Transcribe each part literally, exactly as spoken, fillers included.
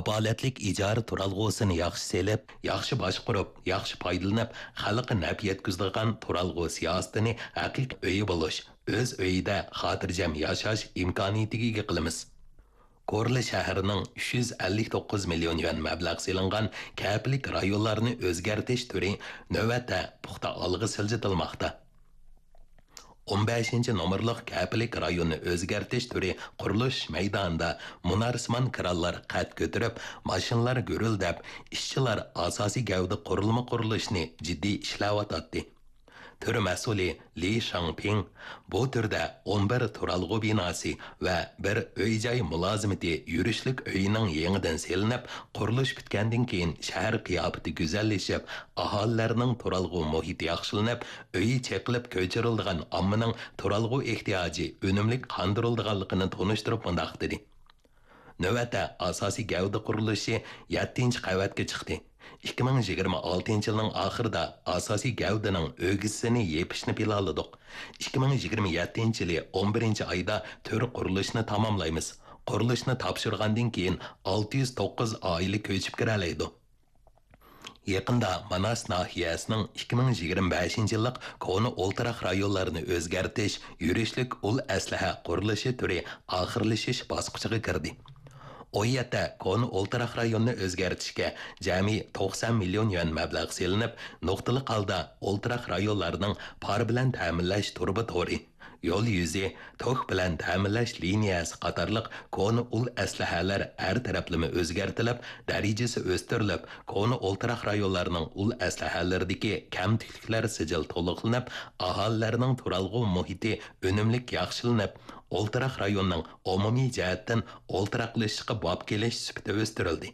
كاپالەتلىك ئىجارە تۇرالغۇسىنى ياخشى سېلىپ، ياخشى باشقۇرۇپ، ياخشى پايدىلىنىپ، خەلققە نەپ يەتكۈزىدىغان تۇرالغۇ سىياسىتىنى ھەقىقىي ئۆيى بولۇش، ئۆز ئۆيىدە خاتىرجەم ياشاش ئىمكانىيىتىگە ئىگە قىلىمىز. كورلا شەھىرىنىڭ ئۈچ يۈز ئەللىك توققۇز مىليون يۈەن مەبلەغ سېلىنغان كەپىلىك رايونلارنى ئۆزگەرتىش تۈرى نۆۋەتتە پۇختا ئالغا سىلجىتىلماقتا. ئون بەشىنچى نومۇرلۇق كەپىلىك رايوننى ئۆزگەرتىش تۈرى قۇرۇلۇش مەيدانىدا مۇنارسىمان كرانلار قەد كۆتۈرۈپ، ماشىنىلار گۈرۈلدەپ، ئىشچىلار ئاساسىي گەۋدە قۇرۇلما قۇرۇلۇشىنى جىددىي ئىشلەۋاتاتتى. تۈر مەسئۇلى لى شاڭپىڭ بۇ تۈردە ئون بىر تۇرالغۇ بىناسى ۋە بىر ئۆي-جاي مۇلازىمىتى يۈرۈشلۈك ئۆيىنىڭ يېڭىدىن سېلىنىپ، قۇرۇلۇش پۈتكەندىن كېيىن شەھەر قىياپىتى گۈزەللىشىپ، ئاھالىلەرنىڭ تۇرالغۇ مۇھىتى ياخشىلىنىپ، ئۆيى چېقىلىپ كۆچۈرۈلىدىغان ئاممىنىڭ تۇرالغۇ ئېھتىياجى ئۈنۈملۈك قاندۇرۇلىدىغانلىقىنى تونۇشتۇرۇپ مۇنداق دېدى: نۆۋەتتە ئاساسىي گەۋدە قۇرۇلۇشى يەتتىنچى قەۋەتكە چىقتى. ئىككى مىڭ يىگىرمە ئالتىنچى يىلنىڭ ئاخىرىدا ئاساسىي گەۋدىنىڭ ئۆگزىسىنى يېپىشنى پىلانلىدۇق. ئىككى مىڭ يىگىرمە يەتتىنچى يىلى ئون بىرىنچى ئايدا تۈر قۇرۇلۇشىنى تاماملايمىز. قۇرۇلۇشنى تاپشۇرغاندىن كېيىن ئالتە يۈز توققۇز ئائىلە كۆچۈپ كىرەلەيدۇ. يېقىندا ماناس ناھىيەسىنىڭ ئىككى مىڭ يىگىرمە بەشىنچى يىللىق كونا ئولتۇراق رايونلارنى ئۆزگەرتىش يۈرۈشلۈك ئۇل ئەسلىھە قۇرۇلۇشى تۈرى ئاخىرلىشىش باسقۇچىغا كىردى. ئۇ يەردە كونا ئولتۇراق رايوننى ئۆزگەرتىشكە جەمئىي توقسان مىليون يۈەن مەبلەغ سېلىنىپ، نۇقتىلىق ھالدا ئولتۇراق رايونلارنىڭ پار بىلەن تەمىنلەش تۇرۇبا تورى، يول يۈزى، توك بىلەن تەمىنلەش لىنىيەسى قاتارلىق كونا ئۇل ئەسلىھەلەر ھەر تەرەپلىمە ئۆزگەرتىلىپ، دەرىجىسى ئۆستۈرۈلۈپ، كونا ئولتۇراق رايونلارنىڭ ئۇل ئەسلىھەلىرىدىكى كەمتۈكلۈكلەر سىجىل تولۇقلىنىپ، ئاھالىلەرنىڭ تۇرالغۇ مۇھىتى ئۈنۈملۈك ياخشىلىنىپ، ئولتۇراق رايوننىڭ ئومۇمىي جەھەتتىن ئولتۇراقلىشىشقا باب كېلىش سۈپىتى ئۆستۈرۈلدى.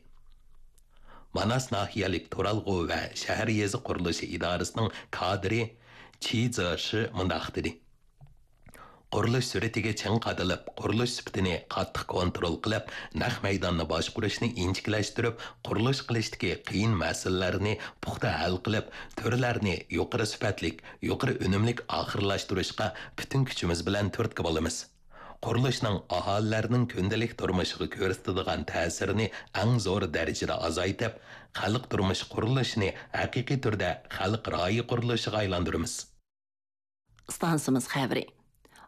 ماناس ناھىيەلىك تۇرالغۇ ۋە شەھەر يېزا قۇرۇلۇشى ئىدارىسىنىڭ كادىرى چى زېشى مۇنداق دېدى: قۇرۇلۇش سۈرئىتىگە چىڭ قادىلىپ، قۇرۇلۇش سۈپىتىنى قاتتىق كونترول قىلىپ، نەق مەيداننى باشقۇرۇشنى ئىنچىكىلەشتۈرۈپ، قۇرۇلۇش قىلىشتىكى قىيىن مەسىلىلەرنى پۇختا ھەل قىلىپ، تۈرلەرنى يۇقىرى سۈپەتلىك، يۇقىرى ئۈنۈملۈك ئاخىرلاشتۇرۇشقا پۈتۈن كۈچىمىز بىلەن تۈرتكە بولىمىز. قۇرۇلۇشنىڭ ئاھالىلەرنىڭ كۈندىلىك تۇرمۇشىغا كۆرسىتىدىغان تەسىرىنى ئەڭ زور دەرىجىدە ئازايتىپ، خەلق تۇرمۇشى قۇرۇلۇشىنى ھەقىقىي تۈردە خەلق رايى قۇرۇلۇشىغا ئايلاندۇرىمىز. ئىستانسىمىز خەۋىرى.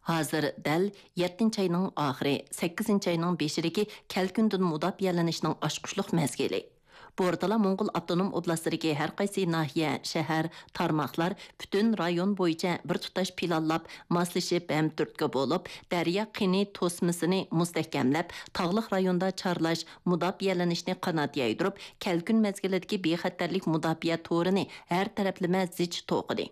ھازىر دەل يەتتىنچى ئاينىڭ ئاخىرى، سەككىزىنچى ئاينىڭ بېشىدىكى كەلكۈندىن مۇداپىئەلىنىشنىڭ ئاچقۇچلۇق مەزگىلى. بورتالا موڭغۇل ئاپتونوم ئوبلاستىدىكى ھەر قايسى ناھىيە، شەھەر، تارماقلار پۈتۈن رايون بويىچە بىر تۇتاش پىلانلاپ، ماسلىشىپ ھەم تۈرتكە بولۇپ، دەريا قىنى توسمىسىنى مۇستەھكەملەپ، تاغلىق رايوندا چارلاش، مۇداپىئەلىنىشنى قانات يايدۇرۇپ، كەلكۈن مەزگىلىدىكى بىخەتەرلىك مۇداپىئە تورىنى ھەر تەرەپلىمە زىچ توقۇدى.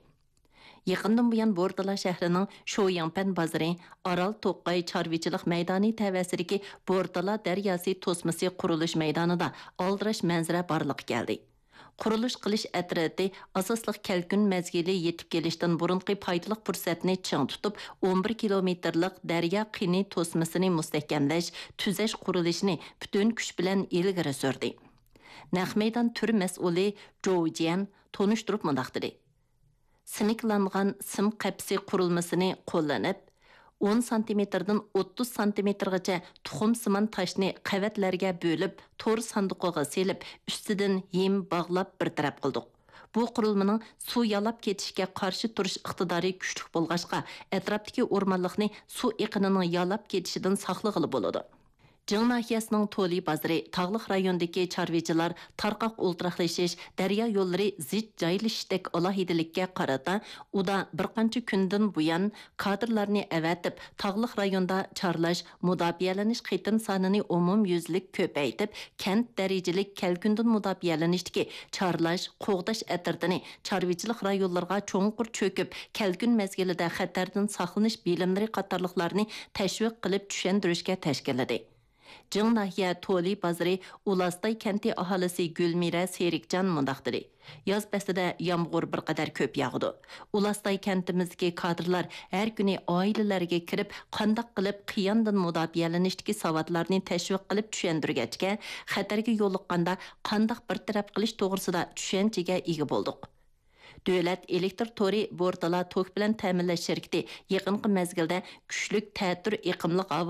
يېقىندىن بۇيان، بورتالا شەھىرىنىڭ شويىڭپەن بازىرى، ئارال توقاي چارۋىچىلىق مەيدانى تەۋەسىدىكى بورتالا دەرياسى توسمىسى قۇرۇلۇش مەيدانىدا ئالدىراش مەنزىرە بارلىققا كەلدى. قۇرۇلۇش قىلىش ئەترىتى ئاساسلىق كەلكۈن مەزگىلى يېتىپ كېلىشتىن بۇرۇنقى پايدىلىق پۇرسەتنى چىڭ تۇتۇپ، ئون بىر كىلومېتىرلىق دەريا قىنى توسمىسىنى مۇستەھكەملەش، تۈزەش قۇرۇلۇشىنى پۈتۈن كۈچ بىلەن ئىلگىرى سۈردى. نەق مەيدان تۈر مەسئۇلى جوۋ جيەن تونۇشتۇرۇپ مۇنداق دېدى: سىنكلانغان سىم قەپىسى قۇرۇلمىسىنى قوللىنىپ، ئون سانتىمېتىردىن ئوتتۇز سانتىمېتىرغىچە تۇخۇمسىمان تاشنى قەۋەتلەرگە بۆلۈپ، تور ساندۇقىغا سېلىپ، ئۈستىدىن ھىم باغلاپ بىر تەرەپ قىلدۇق. بۇ قۇرۇلمىنىڭ سۇ يالاپ كېتىشكە قارشى تۇرۇش ئىقتىدارى كۈچلۈك بولغاچقا، ئەتراپتىكى ئورمانلىقنى سۇ ئېقىنىنىڭ يالاپ كېتىشىدىن ساقلىغىلى بولىدۇ. جىڭ ناھىيەسىنىڭ تولى بازىرى تاغلىق رايوندىكى چارۋىچىلار تارقاق ئولتۇراقلىشىش، دەريا يوللىرى زىچ جايلىشىشتەك ئالاھىدىلىككە قارىتا، ئۇدا بىر قانچە كۈندىن بۇيان كادىرلارنى ئەۋەتىپ، تاغلىق رايوندا چارلاش، مۇداپىئەلىنىش قېتىم سانىنى ئومۇميۈزلۈك كۆپەيتىپ، كەنت دەرىجىلىك كەلكۈندىن مۇداپىئەلىنىشتىكى چارلاش، قوغداش ئەترىتىنى چارۋىچىلىق رايونلىرىغا چوڭقۇر چۆكۈپ، كەلكۈن مەزگىلىدە خەتەردىن ساقلىنىش بىلىملىرى قاتارلىقلارنى تەشۋىق قىلىپ چۈشەندۈرۈشكە تەشكىللىدى. جىڭ ناھىيە تولى بازىرى ئۇلاستاي كەنتى ئاھالىسى گۈلمىرە سېرىكجان مۇنداق دېدى: ياز پەسلىدە يامغۇر بىر قەدەر كۆپ ياغىدۇ. ئۇلاستاي كەنتىمىزدىكى كادىرلار ھەر كۈنى ئائىلىلەرگە كىرىپ، قانداق قىلىپ قىياندىن مۇداپىئەلىنىشتىكى ساۋاتلارنى تەشۋىق قىلىپ چۈشەندۈرگەچكە، خەتەرگە يولۇققاندا قانداق بىر تەرەپ قىلىش توغرىسىدا چۈشەنچىگە ئىگە بولدۇق. دۆلەت ئېلېكتىر تورى بورتالا توك بىلەن تەمىنلەش شىركىتى يېقىنقى مەزگىلدە كۈچلۈك تەتۈر ئېقىملىق ھاۋا